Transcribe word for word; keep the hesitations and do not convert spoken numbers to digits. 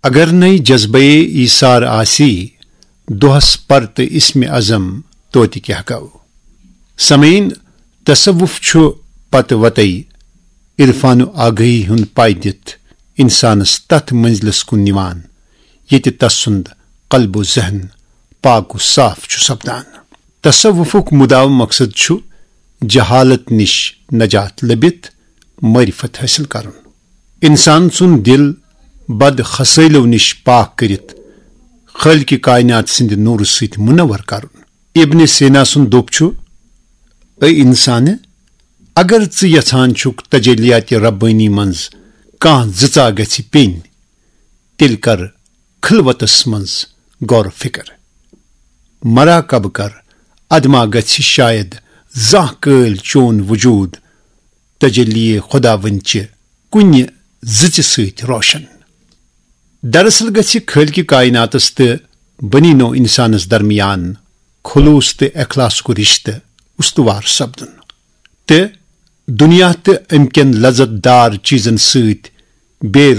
اگر نَے جذبے ایثار آسی، دۄہس پر تہٕ اسم اعظم توتہِ کیٛاہ گوٚو؟ سمعین، تصوف چھُ پتہٕ وتَے عرفان و آگہی ہُنٛد پاے دِتھ انسانس تتھ منزلس کُن نِوان، ییٚتہِ تسُنٛد قلب و ذہن پاک و صاف چھُ سپدان۔ تصوفُک مداوم مقصد چھُ جہالت نِش نجات لٔبِتھ معرفت حٲصِل کرُن۔ انسان سُنٛد دِل بد خصٲلیو نِش پاک کٔرِتھ خالق کائنات سٕنٛدِ نوٗرٕ سۭتۍ منور کرُن۔ ابن سینا سُنٛد دوٚپ چھُ، اے انسانہٕ، اگر ژٕ یژھان چھُکھ تجلیات ربانی منٛز کانٛہہ زٕژا گژھِ پیٚنۍ، تیٚلہِ کر خلوتس منٛز غور و فکر۔ مراقبہٕ کر، ادما گژھِ شاید زانٛہہ کٲلۍ چون وجود تجلی خداوند چہِ کُنہِ زٕژِ سۭتۍ روشن۔ دراصل گژھِ خالق کائناتس تہٕ بنی نوع انسانس درمیان خلوص تہٕ اخلاصُک رشتہٕ استوار سپدُن، تہٕ دنیا تہٕ امہِ کٮ۪ن لذت دار چیزن سۭتۍ بے